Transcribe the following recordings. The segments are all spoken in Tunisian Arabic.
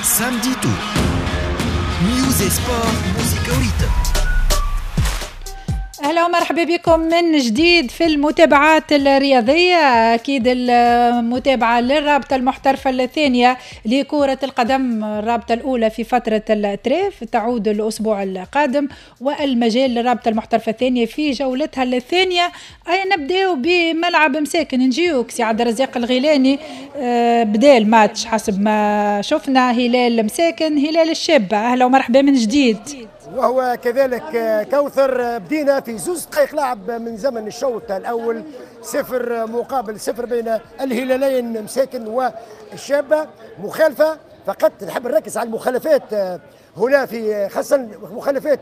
Samedi Tour. News et sport, musique au rythme. اهلا ومرحبا بكم من جديد في المتابعات الرياضية، اكيد المتابعة للرابطة المحترفه الثانية لكرة القدم، الرابطة الاولى في فترة ال trêve تعود الاسبوع القادم، والمجال للرابطة المحترفه الثانية في جولتها الثانية. اي نبداو بملعب مساكن، نجيوك سي عبد الرزاق الغيلاني. بدا الماتش حسب ما شفنا، هلال مساكن هلال الشابة. اهلا ومرحبا من جديد. وهو كذلك كوثر، بدينا في 2 دقائق لعب من زمن الشوط الأول، 0-0 بين الهلالين مساكن والشابة. مخالفة فقط، نحب نركز على المخالفات هنا، في خاصة مخالفات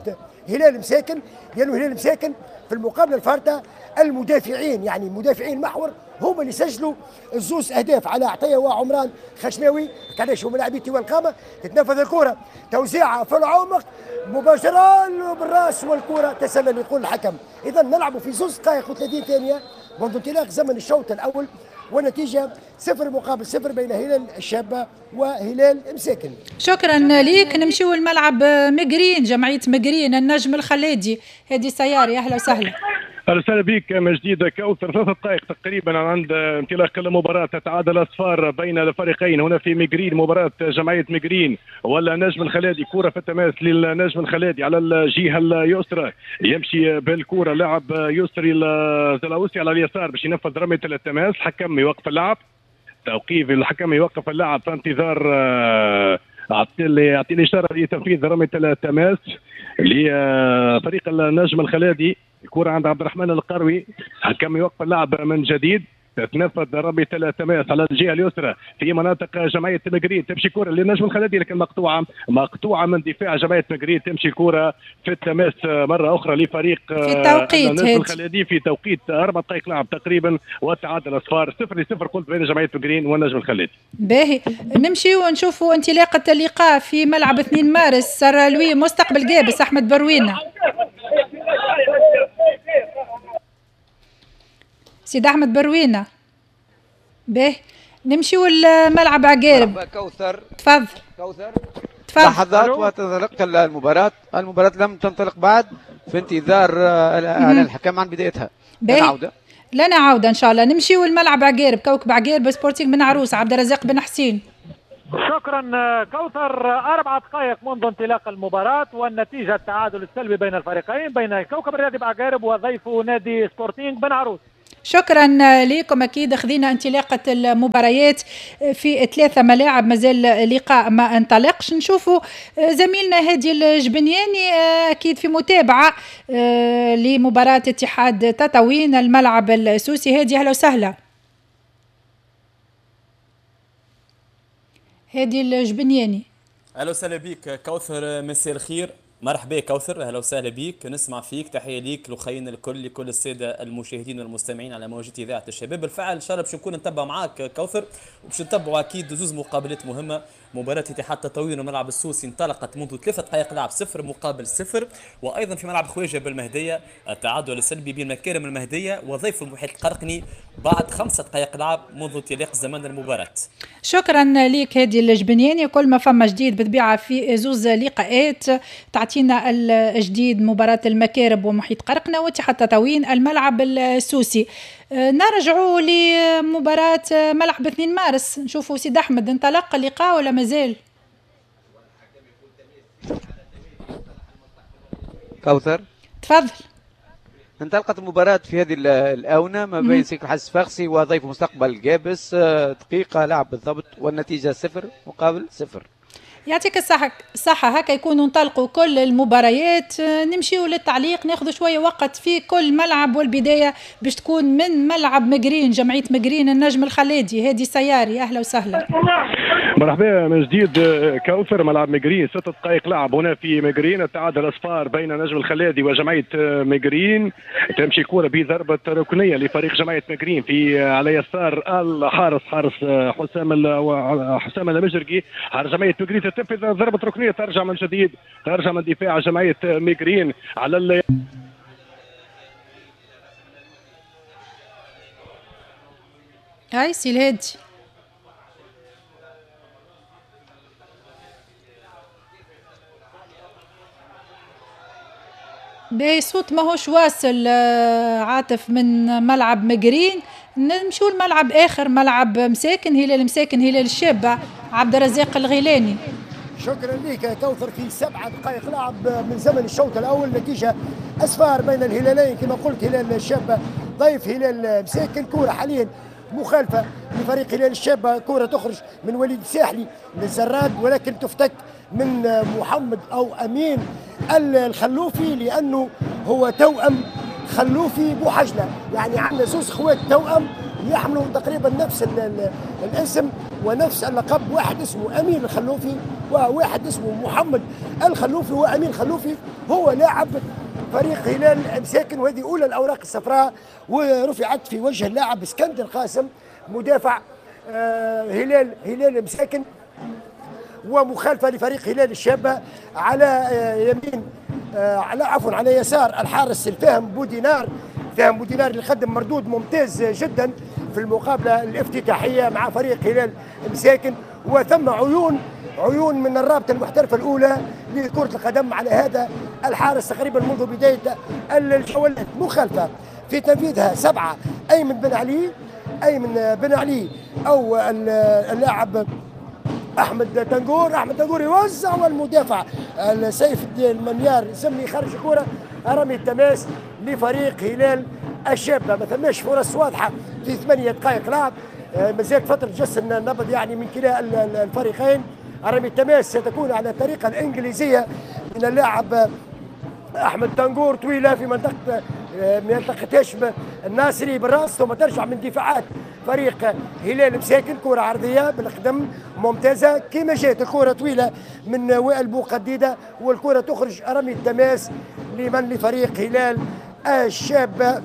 هلال مساكن، لأنه هلال مساكن في المقابلة الفارطة المدافعين، يعني مدافعين المحور هم اللي سجلوا الزوز اهداف على عطية وعمران خشناوي. علاش هم لاعبين والقامه. تتنفذ الكره، توزيعها في العمق مباشرة بالراس والكره تسلل يقول الحكم. اذا نلعب في 2 دقائق و30 ثانية منذ انطلاق زمن الشوط الاول، والنتيجة 0-0 بين هلال الشابة وهلال مساكن. شكرا ليك. نمشيو الملعب مقرين، جمعية مقرين النجم الخلادي، هادي سياري، اهلا وسهلا. اهلا وسهلا بك من جديد كوثر. 3 دقائق تقريبا عند انطلاق المباراة، تتعادل اصفار بين الفريقين هنا في ميغرين، مباراة جمعية ميغرين ولا نجم الخلادي. كره في التماس للنجم الخلادي على الجهة اليسرى، يمشي بالكرة لاعب يسري الزلاوسي على اليسار باش ينفذ رمية التماس. الحكم يوقف اللعب، توقيف، الحكم يوقف اللعب في انتظار يعطي الاشارة لتنفيذ رمية التماس لفريق النجم الخلادي. الكرة عند عبد الرحمن القروي، حكم يوقف اللعب من جديد، تتنفذ رمية التماس على الجهة اليسرى في مناطق جمعية مقرين، تمشي كره للنجم الخلدي لكن مقطوعة، مقطوعة من دفاع جمعية مقرين. تمشي كره في التماس مرة اخرى لفريق في توقيت النجم الخلدي في توقيت 4 دقائق لعب تقريبا، والتعادل اصفار 0-0 قلت بين جمعية مقرين والنجم الخلدي. باهي، نمشي ونشوفوا انطلاقة اللقاء في ملعب 2 مارس، سرالوي مستقبل قابس، احمد بروينه. سيد احمد بروينه. باهي، نمشيو لملعب عقارب. كوثر. تفضل. كوثر. تفضل. لحظات وتنطلق المباراة. المباراة لم تنطلق بعد، في انتظار اعلان الحكم عن بدايتها. لنا عودة، لنا عودة ان شاء الله. نمشيو لملعب عقارب، كوكب عقارب سبورتينغ بن عروس، عبد الرزاق بن حسين. شكرا كوثر. 4 دقائق منذ انطلاق المباراة والنتيجة التعادل السلبي بين الفريقين، بين الكوكب الرياضي بعقارب وضيفه نادي سبورتينغ بن عروس. شكرا لكم. اكيد خذينا انطلاقة المباريات في ثلاثة ملاعب، مازال لقاء ما انطلقش. نشوفوا زميلنا هادي الجبنياني اكيد في متابعه لمباراة اتحاد تطاوين الملعب السوسي. هادي، اهلا وسهلا. هادي الجبنياني. اهلا وسهلا بك كوثر، مساء الخير. مرحبا كوثر، اهلا وسهلا بك، نسمع فيك. تحية ليك لخينا الكل، لكل السادة المشاهدين والمستمعين على موجة اذاعة الشباب. بالفعل ان شاء الله باش نكون نتبع معاك كوثر، وباش نتبعوا اكيد زوز مقابلات مهمه. مباراة اتحاد تطاوين وملعب السوسي انطلقت منذ 3 دقائق لعب 0-0، وايضا في ملعب خواجه بالمهديه التعادل السلبي بين مكارم المهدية وضيف المحيط القرقني بعد 5 دقائق لعب منذ انطلاق زمن المباراة. شكرا لك هادي الجبنياني. كل ما فما جديد بالطبيعة في زوز لقاءات تعطينا الجديد، مباراة المكارب ومحيط قرقنة واتحاد تطاوين الملعب السوسي. نرجعوا لمباراة ملعب 2 مارس، نشوفوا سيد أحمد، انطلق اللقاء ولا مازال؟ كوثر. تفضل. انطلقت المباراة في هذه الآونة ما بين سيك الحس الصفاقسي وضيف مستقبل قابس، دقيقة لعب بالضبط والنتيجة 0-0. يعطيك الصحة الصحة. هكا يكونوا انطلقوا كل المباريات. نمشيو للتعليق، ناخذ شوية وقت في كل ملعب، والبداية باش تكون من ملعب مقرين، جمعية مقرين النجم الخلادي، هادي سياري، أهلا وسهلا. مرحبا من جديد كوثر. ملعب مقرين، 6 دقائق لعب هنا في مقرين، التعادل اصفار بين نجم الخلادي وجمعية مقرين. تمشي كره بضربه ركنيه لفريق جمعية مقرين في على يسار الحارس، حارس حسام المجرقي، حارس جمعية مقرين. تنفذ ضربه ركنيه، ترجع من جديد، ترجع من دفاع جمعية مقرين على هاي سي الهادي. باهي، صوت ماهوش واصل عاطف من ملعب مقرين. نمشوا لملعب اخر، ملعب مساكن، هلال مساكن هلال الشابة، عبد الرزاق الغيلاني. شكرا لك كوثر. في 7 دقائق لعب من زمن الشوط الاول، نتيجة اصفار بين الهلالين كما قلت، هلال الشابة ضيف هلال مساكن. كره حاليا مخالفة لفريق هلال الشابة، كره تخرج من وليد الساحلي للزراد، ولكن تفتك من محمد او امين الخلوفي، لانه هو توأم خلوفي بوحجله، يعني عندنا زوز خوات توأم يحملوا تقريبا نفس الاسم ونفس اللقب، واحد اسمه امين الخلوفي وواحد اسمه محمد الخلوفي. وامين الخلوفي هو لاعب فريق هلال مساكن، وهذه اولى الاوراق الصفراء ورفعت في وجه اللاعب اسكندر قاسم مدافع هلال مساكن، ومخالفه لفريق هلال الشابة على يمين على عفوا على يسار الحارس الفهم بودينار. فهم بودينار اللي قدم مردود ممتاز جدا في المقابلة الافتتاحيه مع فريق هلال مساكن، وثم عيون من الرابطة المحترفه الاولى لكرة القدم على هذا الحارس تقريبا منذ بداية الجولات. مخالفة في تنفيذها 7 ايمن بن علي، ايمن بن علي او اللاعب احمد تنقور. احمد تنقور يوزع، والمدافع سيف المنيار زمني خرج الكره، رمي التماس لفريق هلال الشابة. ما ثماش فرص واضحة في 8 دقائق لعب، مازالت فترة جس النبض يعني من كلا الفريقين. رمي التماس ستكون على الطريقة الانجليزية من اللاعب احمد تنقور، طويلة في منطقة هاشم الناصري بالراس، ثم ترجع من دفاعات فريق هلال مساكن. كرة عرضية بالقدم ممتازة كما جات الكرة طويلة من وائل بوقديدة، والكرة تخرج رمي التماس لمن؟ لفريق هلال الشابة.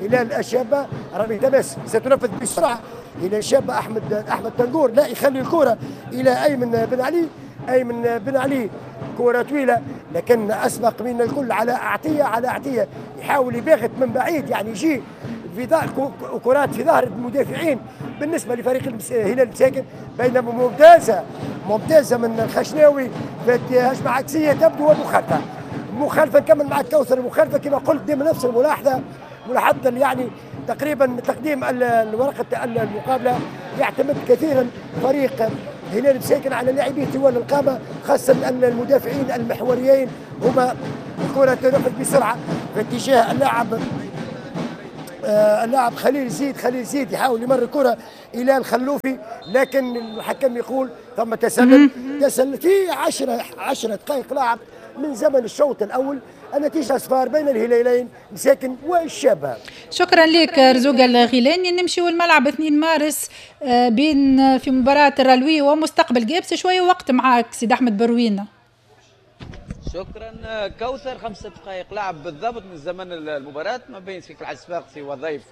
هلال الشابة رمي التماس ستنفذ بسرعة. هلال الشابة أحمد تنقور لا يخلي الكرة إلى أيمن بن علي، أيمن بن علي كرة طويلة لكن أسبق من الكل على عطية، على عطية يحاول يباغت من بعيد، يعني يجي في كرات في ظهر المدافعين بالنسبة لفريق هلال مساكن. بينما ممتازة ممتازة من الخشناوي في هجمة عكسية تبدو ومخالفة، مخالفة نكمل مع كوثر. المخالفة كما قلت دائما نفس الملاحظة، ملاحظة يعني تقريبا تقديم ورقة المقابلة يعتمد كثيرا فريق هلال مساكن على لاعبيه طوال القامة، خاصة المدافعين المحوريين هما. الكرة تنفذ بسرعة في اتجاه اللاعب خليل زيد، خليل زيد يحاول يمر الكرة إلى الخلوفي، لكن الحكم يقول ثم تسلل، تسلل في 10 دقائق لعب من زمن الشوط الأول. النتيجة أصفار بين الهلالين مساكن والشابة. شكرا لك رزوق الغيلاني. نمشيو الملعب 2 مارس بين في مباراة الرلوي ومستقبل جابس. شوية وقت معاك سيد أحمد بروينة. شكرا كوثر. 5 دقائق لعب بالضبط من زمن المباراة ما بين سكك الحاج الصفاقسي وضيف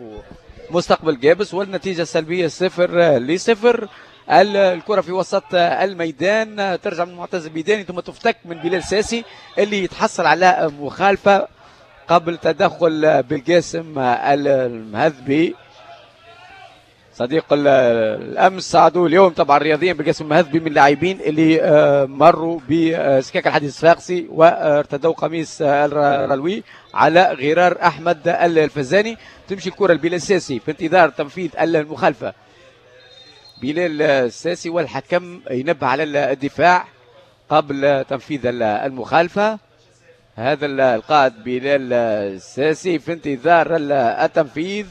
مستقبل جابس، والنتيجة السلبية 0-0. الكرة في وسط الميدان ترجع من معتز الميداني ثم تفتك من بلال ساسي اللي يتحصل على مخالفة قبل تدخل بالقاسم المهذبي صديق الامس صعدوا اليوم طبعا رياضيا. بالقاسم المهذبي من اللاعبين اللي مروا بسكاك الحديث الصفاقسي وارتدوا قميص الرلوي على غرار احمد الفزاني. تمشي الكرة لبلال ساسي في انتظار تنفيذ المخالفة. بلال الساسي والحكم ينبه على الدفاع قبل تنفيذ المخالفة. هذا القائد بلال الساسي في انتظار التنفيذ.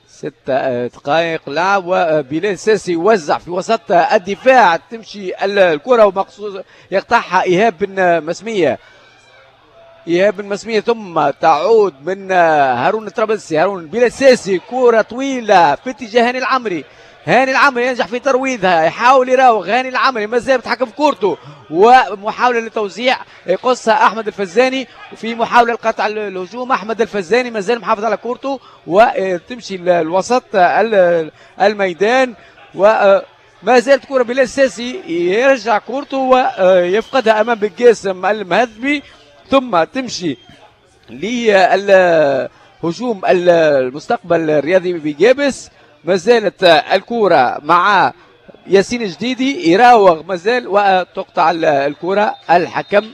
6 دقائق لعب وبلال ساسي يوزع في وسط الدفاع، تمشي الكرة ومقصود يقطعها إيهاب بن مسمية، إيهاب بن مسمية ثم تعود من هارون الطرابلسي. هارون بلال ساسي كرة طويلة في اتجاه هاني العمري، هاني العمري ينجح في ترويضها، يحاول يراوغ هاني العمري مازال بيتحكم في كورته، ومحاولة للتوزيع يقصها أحمد الفزاني، وفي محاولة لقطع الهجوم أحمد الفزاني مازال محافظ على كورته وتمشي الوسط الميدان، وما زالت كرة بلال ساسي يرجع كورته ويفقدها أمام بالقاسم المهذبي، ثم تمشي للهجوم المستقبل الرياضي بجابس. ما زالت الكرة مع ياسين الجديدي يراوغ مازال وتقطع الكرة. الحكم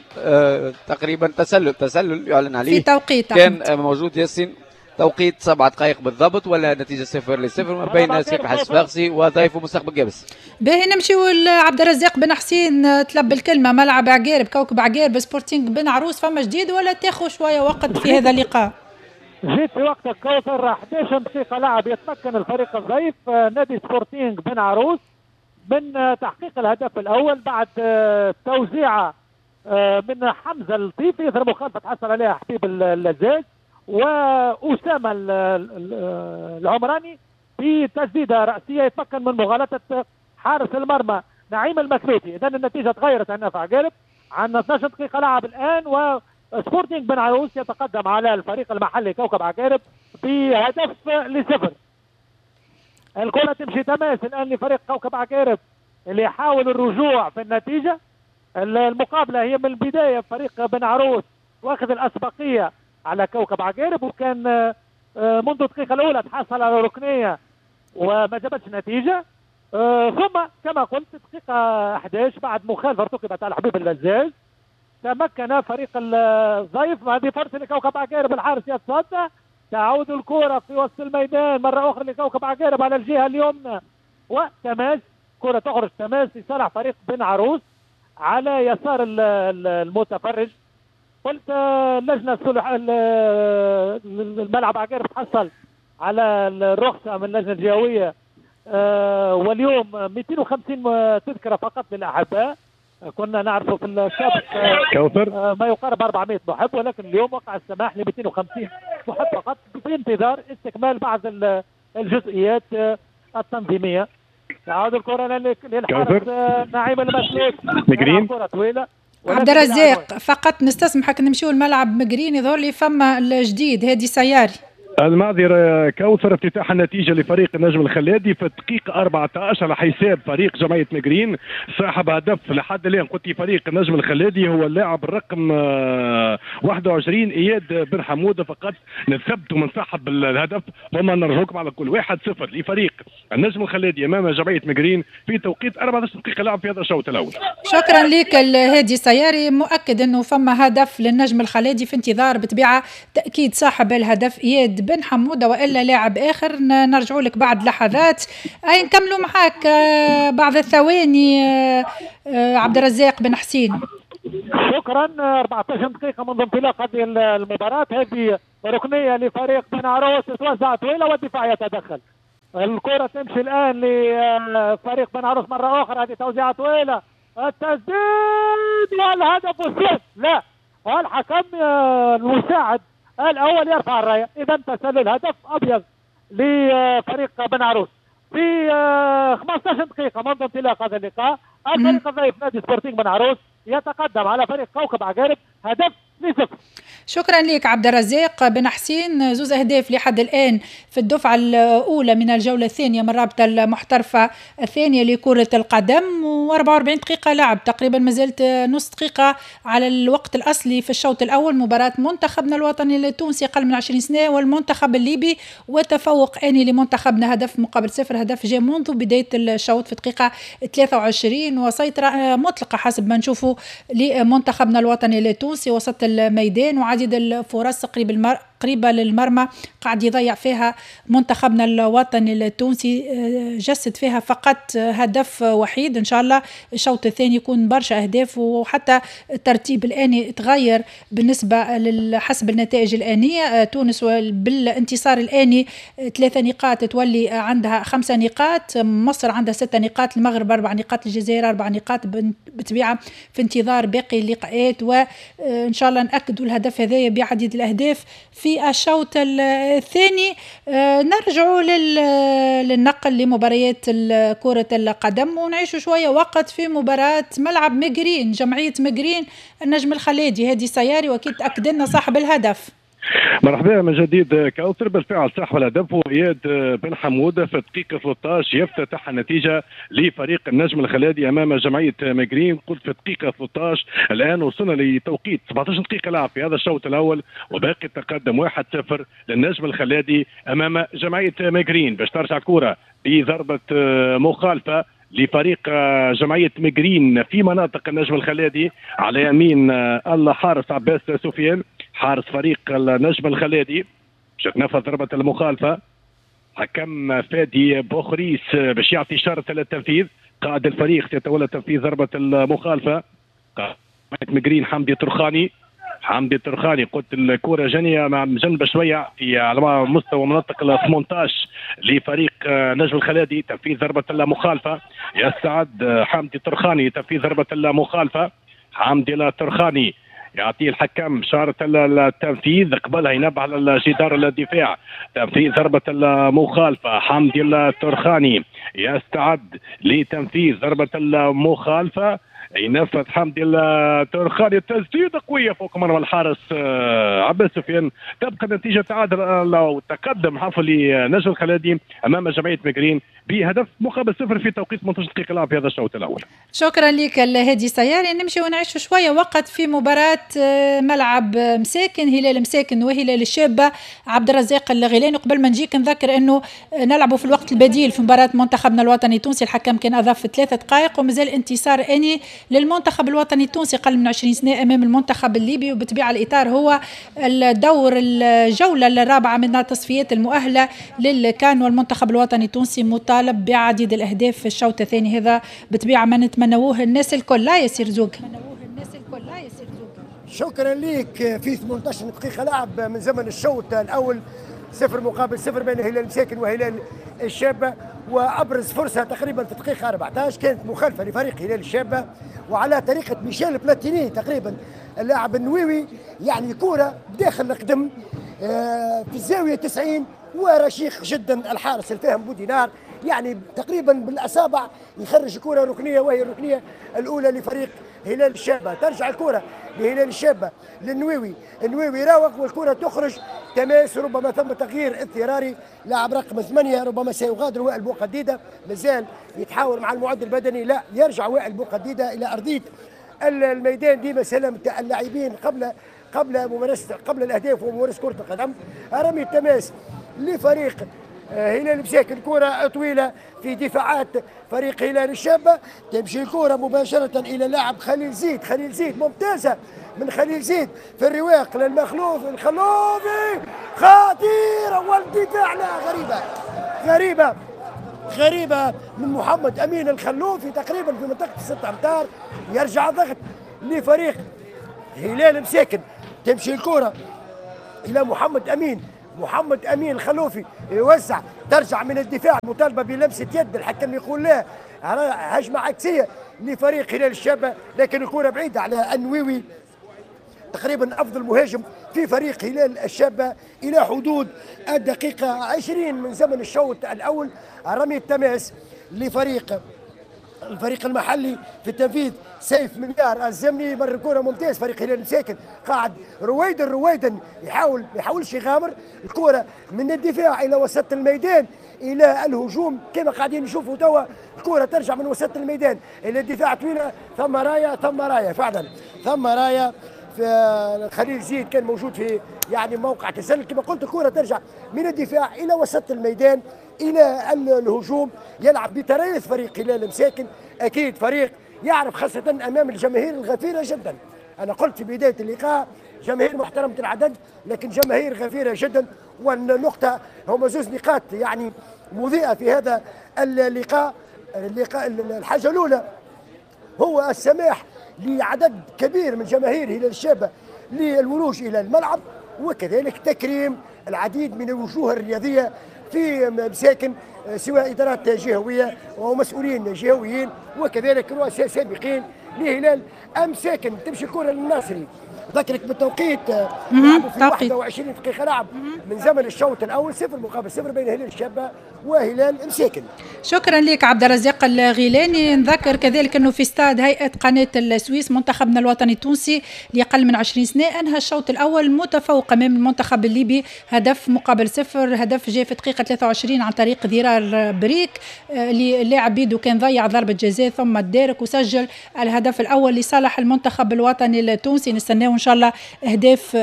تقريبا تسلل يعلن عليه في توقيت كان موجود ياسين، توقيت 7 دقائق بالضبط، ولا نتيجة 0-0 ما بين سكة الحاج الصفاقسي وضيفه مستقبل قابس. باهي نمشيو لعبد الرزاق بن حسين، طلب الكلمة. ملعب عقارب، كوكب عقارب، سبورتينغ بن عروس، فما جديد ولا تاخذ شوية وقت في هذا اللقاء؟ جيت في وقتك كوثر، 11 دقيقة لعب يتمكن الفريق الضيف نادي سبورتينغ بن عروس من تحقيق الهدف الأول بعد توزيعة من حمزة اللطيفي، إثر مخالفة تحصل عليها حبيب اللزاز وأسامة العمراني بتسديدة رأسية يتمكن من مغالطة حارس المرمى نعيم المثلوثي. إذن النتيجة تغيرت عندنا في عقارب، عندنا 12 دقيقة لعب الآن وسبورتينغ بن عروس يتقدم على الفريق المحلي كوكب عقارب بهدف 0. الكرة تمشي تماس الآن لفريق كوكب عقارب اللي يحاول الرجوع في النتيجة. المقابلة هي من البداية فريق بن عروس واخذ الأسبقية على كوكب عقارب، وكان منذ الدقيقة الأولى تحصل على ركنية وما جابتش نتيجة. ثم كما قلت دقيقة 11 بعد مخالفة ارتكبت على حبيب اللزاز تمكن فريق الضيف، هذه فرصة لكوكب عقارب، الحارس يتصدى، تعود الكرة في وسط الميدان مرة أخرى لكوكب عقارب على الجهة اليمنى وتماس، كرة تخرج تماس لصالح فريق بن عروس على يسار المتفرج. قلت اللجنة الصلح الملعب عقارب تحصل على الرخصة من اللجنة الجهوية، واليوم 250 تذكرة فقط للأحباء، كنا نعرفه في السابق ما يقارب 400 محب، ولكن اليوم وقع السماح ل 250 محب فقط في انتظار استكمال بعض الجزئيات التنظيمية. تعود الكرة للحارس نعيم المسلوك، كرة طويلة. عبد الرزاق فقط نستسمحك نمشيو الملعب مقرين، يظهر لي فما الجديد هادي سياري. المعذرة كوثر، افتتاح النتيجة لفريق النجم الخلادي في الدقيقة 14 على حساب فريق جمعية مقرين. صاحب هدف لحد الآن قلت فريق النجم الخلادي هو اللاعب الرقم 21 إياد بن حمودة، فقط نثبت من صاحب الهدف ثم نرجوكم على كل. 1-0 لفريق النجم الخلادي أمام جمعية مقرين في توقيت 14 دقيقة لعب في هذا الشوط الأول. شكرا لك الهادي سياري، مؤكد أنه فما هدف للنجم الخلادي في انتظار بطبيعة تأكيد صاحب الهدف إياد بن حمودة وإلا لاعب آخر. نرجع لك بعد لحظات. أي نكملوا معاك بعض الثواني عبد الرزاق بن حسين. شكرا. 14 دقيقة منذ انطلاق هذه المباراة، هذه ركنية لفريق بن عروس تتوزع طويلة والدفاع يتدخل. الكرة تمشي الآن لفريق بن عروس مرة أخرى، هذه توزيعة طويلة، التسديد والهدف والسد، لا، والحكم المساعد الأول يرفع الراية. إذا تسلل هدف أبيض لفريق بن عروس في 15 دقيقة منذ انطلاق هذا اللقاء. الفريق الضيف نادي سبورتينغ بن عروس يتقدم على فريق كوكب عقارب هدف 0. شكرا لك عبد الرزاق بن حسين. زوز اهداف لحد الان في الدفعة الاولى من الجولة الثانية من الرابطة المحترفه الثانية لكرة القدم، و44 دقيقة لعب تقريبا، ما زالت نص دقيقة على الوقت الاصلي في الشوط الاول. مباراة منتخبنا الوطني التونسي اقل من 20 سنة والمنتخب الليبي، وتفوق اني لمنتخبنا 0-0، هدف جاء منذ بداية الشوط في دقيقة 23، وسيطرة مطلقه حسب ما نشوفوا لمنتخبنا الوطني التونسي وسط الميدان، وعديد الفرص قريبة للمرمى قاعد يضيع فيها منتخبنا الوطني التونسي، جسد فيها فقط هدف وحيد. إن شاء الله الشوط الثاني يكون برشا أهداف، وحتى الترتيب الآني تغير بالنسبة حسب النتائج الآنية. تونس بالانتصار الآني 3 نقاط تولي عندها 5 نقاط، مصر عندها 6 نقاط، المغرب 4 نقاط، الجزائر 4 نقاط، بطبيعة في انتظار باقي اللقاءات، وإن شاء الله نأكدوا الهدف هذايا بعديد الأهداف في الشوط الثاني. نرجع للنقل لمباريات كرة القدم، ونعيش شوية وقت في مباراة ملعب مقرين، جمعية مقرين النجم الخليدي هادي سياري، وأكيد تأكد لنا صاحب الهدف. مرحبا من جديد كوثر. بالفعل صاحب الهدف هو اياد بن حموده في الدقيقة 13 يفتتح النتيجة لفريق النجم الخلادي امام جمعية مقرين. قلت في الدقيقة 13، الان وصلنا لتوقيت 17 دقيقة لعب في هذا الشوط الاول، وباقي التقدم 1-0 للنجم الخلادي امام جمعية مقرين. باش ترجع الكره بضربه مخالفة لفريق جمعية مقرين في مناطق النجم الخلادي. على يمين الحارس عباس سفيان حارس فريق النجم الخلادي، باش تنفذ ضربة المخالفة. حكم فادي بوخريس باش يعطي شرط للتنفيذ. قائد الفريق سيتولى تنفيذ ضربة المخالفة. مقرين حمدي ترخاني، حمدي ترخاني قلت الكرة جانية مع جنب شوية في على مستوى مناطق ال 18 لفريق نجم الخلادي. تنفيذ ضربة المخالفة، يستعد حمدي ترخاني تنفيذ ضربة المخالفة. حمدي الترخاني يعطيه الحكم شارة التنفيذ، قبلها ينبه على الجدار الدفاع. تنفيذ ضربة المخالفة، حمدي الترخاني يستعد لتنفيذ ضربة المخالفة. ينفذ حمدي الترخاني التسديده قوية فوق مرمى الحارس عباس سفيان. تبقى النتيجة تعادل أو تقدم حفل نجم الخلادي امام جمعية مقرين بهدف مقابل صفر في توقيت 18 دقيقة لعب في هذا الشوط الاول. شكرا لك الهادي سياري. نمشي ونعيش شوية وقت في مباراة ملعب مساكن، هلال مساكن وهلال الشابة. عبد الرزاق الغيلاني، قبل ما نجيك نذكر انه نلعبوا في الوقت البديل في مباراة منتخبنا الوطني التونسي، الحكم كان اضاف 3 دقائق ومازال انتصار اني للمنتخب الوطني التونسي قل من 20 سنة امام المنتخب الليبي، وبطبيعة الاطار هو الدور الجولة الرابعة من التصفيات المؤهله للكان، والمنتخب الوطني التونسي مطالب بعديد الاهداف في الشوط الثاني. هذا بطبيعة ما نتمنوه الناس الكل. لا يصير زوج. شكرا لك. في 18 دقيقة لعب من زمن الشوط الاول 0-0 بين هلال مساكن وهلال الشابة، وابرز فرصة تقريبا في الدقيقة 14 كانت مخالفة لفريق هلال الشابة وعلى طريقه ميشيل بلاتيني تقريبا اللاعب النويوي، يعني كره داخل القدم في الزاوية 90 ورشيق جدا الحارس الفاهم بودينار، يعني تقريبا بالاصابع يخرج كره ركنيه، وهي الركنيه الاولى لفريق هلال الشابة. ترجع الكره لهلال الشابة للنويوي، النويوي راوغ والكره تخرج تماس، ربما ثم تغيير اضطراري. لاعب رقم 8 ربما سيغادر وائل بوقديده، مازال يتحاور مع المعد البدني، لا يرجع وائل بوقديده الى ارضية الميدان. ديما سلامة اللاعبين قبل ممارسة قبل الاهداف وممارسة كره القدم. رمي التماس لفريق هلال مساكن، كرة طويلة في دفاعات فريق هلال الشابة، تمشي الكرة مباشرة إلى لاعب خليل زيد. خليل زيد ممتازة من خليل زيد في الرواق للمخلوف، الخلوفي خطيرة والدفاع لا غريبة غريبة غريبة من محمد أمين الخلوفي تقريبا في منطقة 6 أمتار. يرجع ضغط لفريق هلال مساكن، تمشي الكرة إلى محمد أمين، محمد امين الخلوفي يوزع، ترجع من الدفاع، مطالبه بلمسه يد، الحكم يقول لا، هجمة عكسية لفريق هلال الشابة، لكن الكره بعيدة على النويوي تقريبا افضل مهاجم في فريق هلال الشابة الى حدود الدقيقة 20 من زمن الشوط الاول. رمي التماس لفريق الفريق المحلي في التنفيذ سيف مليار الزمني، مر الكره ممتاز فريق هلال مساكن، قاعد رويدن رويدن يحاول ما يحاولش يغامر، الكره من الدفاع الى وسط الميدان الى الهجوم كما قاعدين نشوفوا توا، الكره ترجع من وسط الميدان الى الدفاع طويلة، ثم رايه ثم رايه فعلا ثم رايه. في خليل زيد كان موجود في يعني موقع تسلل كما قلت، الكره ترجع من الدفاع الى وسط الميدان الى الهجوم، يلعب بتريث فريق هلال مساكن، اكيد فريق يعرف خاصة امام الجماهير الغفيره جدا. انا قلت في بداية اللقاء جماهير محترمه العدد لكن جماهير غفيره جدا، والنقطة هما زوج نقاط يعني مضيئة في هذا اللقاء. الحاجة الاولى هو السماح لعدد كبير من جماهير هلال الشابة للولوج الى الملعب، وكذلك تكريم العديد من الوجوه الرياضية في مساكن سواء ادارات جهويه ومسؤولين جهويين وكذلك رؤساء سابقين لهلال مساكن. تمشي الكره للناصري، ذكرك بالتوقيت في 21 دقيقة لعب من زمن الشوط الاول 0-0 بين هلال الشابة وهلال مساكن. شكرا لك عبد الرزاق الغيلاني. نذكر كذلك انه في استاد هيئة قناة السويس منتخبنا الوطني التونسي لاقل من 20 سنة انهى الشوط الاول متفوق امام المنتخب الليبي 1-0، هدف جاء في دقيقة 23 عن طريق ضرار قرار بريك اللي اللاعب بيدو كان ضيع ضربه جزاء ثم تدارك وسجل الهدف الاول لصالح المنتخب الوطني التونسي. نستناو ان شاء الله اهداف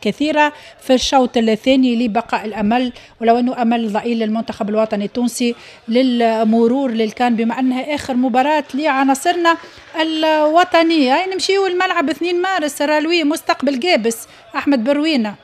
كثيرة في الشوط الثاني لبقاء الامل، ولو انه امل ضئيل للمنتخب الوطني التونسي للمرور للكان بما انها اخر مباراة لعناصرنا الوطنية. نمشيو الملعب 2 مارس رالوي مستقبل قابس، احمد بروينه.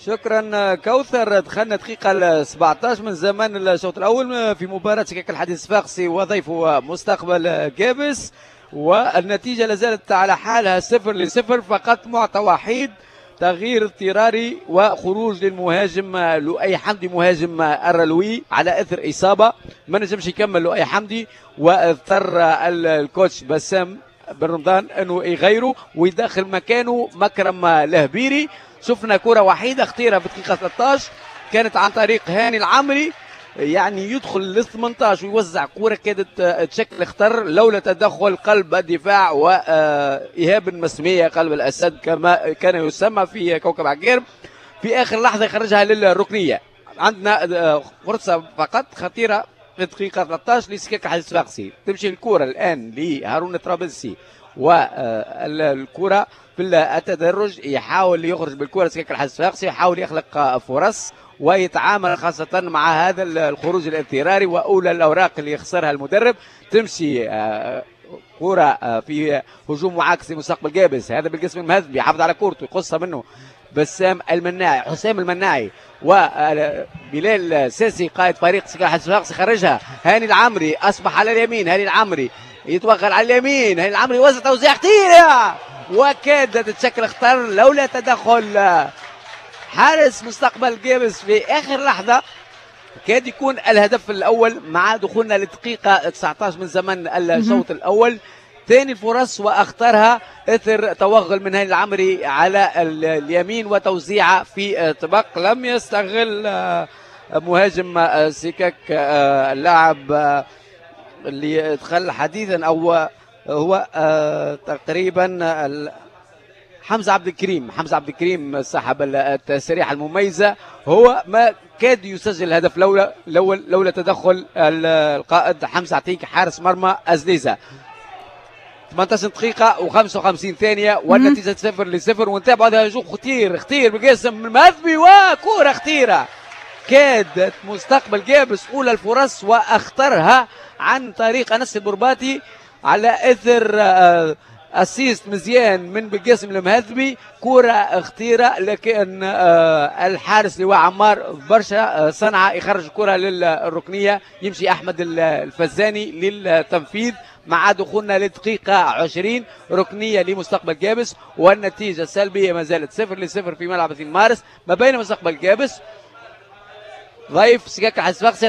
شكرا كوثر. دخلنا دقيقة 17 من زمن الشوط الأول في مباراة سكك الحديد الصفاقسي وضيفه مستقبل قابس، والنتيجة لازالت على حالها 0-0، فقط معطى وحيد تغيير اضطراري وخروج للمهاجم لؤي حمدي مهاجم الرلوي على اثر اصابه، ما نجمش يكمل لؤي حمدي، واضطر الكوتش بسام بن رمضان انه يغيره ويدخل مكانه مكرم لهبيري. شفنا كره وحيده خطيرة في دقيقة 13 كانت عن طريق هاني العمري، يعني يدخل لل 18 ويوزع كره كادت تشكل خطر لولا تدخل قلب الدفاع وايهاب المسميه قلب الاسد كما كان يسمى في كوكب عقارب. في اخر لحظة يخرجها للركنيه. عندنا فرصة فقط خطيرة في دقيقة 13 لسكاك الحديد الصفاقسي، تمشي الكره الان لهارون الطرابلسي والكره في التدرج، يحاول يخرج بالكرة سكاك الحديد الصفاقسي، يحاول يخلق فرص ويتعامل خاصة مع هذا الخروج الاضطراري وأولى الأوراق اللي يخسرها المدرب. تمشي كرة في هجوم معاكس لمستقبل قابس، هذا بالقسم المهذب يحافظ على كورته يقصها منه بسام المناعي، حسام المناعي وبلال ساسي قائد فريق سكاك الحديد الصفاقسي خرجها. هاني العمري أصبح على اليمين، هاني العمري يتوغل على اليمين، هاني العمري وزع توزيع خطيرة وكادت تشكل خطر لولا تدخل حارس مستقبل قابس في اخر لحظة. كاد يكون الهدف الاول مع دخولنا للدقيقه 19 من زمن الشوط الاول. ثاني الفرص واخطرها اثر توغل من هاني العمري على اليمين وتوزيعه في طبق لم يستغل مهاجم سكك اللاعب اللي دخل حديثا او هو تقريبا حمزة عبد الكريم. حمزة عبد الكريم صاحب التسريحه المميزة، هو ما كاد يسجل الهدف لولا تدخل القائد حمزة عتيق حارس مرمى ازليزه. 18 دقيقة و55 ثانية والنتيجة 0-0، ونتابع هذا هجوم خطير خطير بقاسم المهذبي وكرة خطيرة كادت مستقبل قابس أولى الفرص وأخطرها عن طريق أنس البرباتي على إثر assist مزيان من بالقاسم المهذبي، كرة خطيرة لكن الحارس لواء عمار برشا صنعة يخرج الكرة للركنية، يمشي أحمد الفزاني للتنفيذ مع دخولنا للدقيقة 20 ركنية لمستقبل قابس، والنتيجة السلبية ما زالت 0-0 في ملعب 2 مارس ما بين مستقبل قابس ضيف سكاك الحديد الصفاقسي.